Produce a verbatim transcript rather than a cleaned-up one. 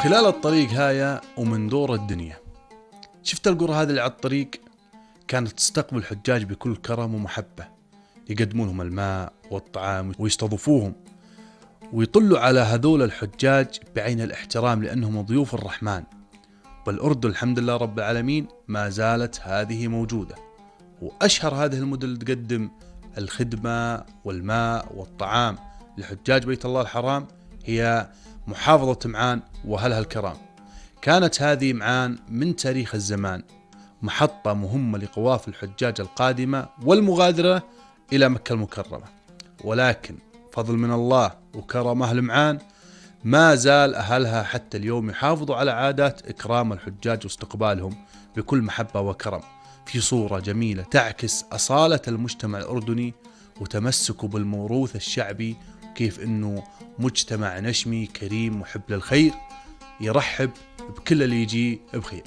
وخلال الطريق هاي ومن دور الدنيا شفت القرى هذه اللي على الطريق كانت تستقبل الحجاج بكل كرم ومحبة، يقدمون لهم الماء والطعام ويستضيفوهم ويطلوا على هذول الحجاج بعين الاحترام لأنهم ضيوف الرحمن. بالأردن الحمد لله رب العالمين ما زالت هذه موجودة، وأشهر هذه المدن اللي تقدم الخدمة والماء والطعام لحجاج بيت الله الحرام هي محافظة معان وأهلها الكرام. كانت هذه معان من تاريخ الزمان محطة مهمة لقوافل الحجاج القادمة والمغادرة إلى مكة المكرمة، ولكن فضل من الله وكرم أهل معان ما زال أهلها حتى اليوم يحافظوا على عادات إكرام الحجاج واستقبالهم بكل محبة وكرم في صورة جميلة تعكس أصالة المجتمع الأردني وتمسكه بالموروث الشعبي، كيف إنه مجتمع نشمي كريم محب للخير يرحب بكل اللي يجي بخير.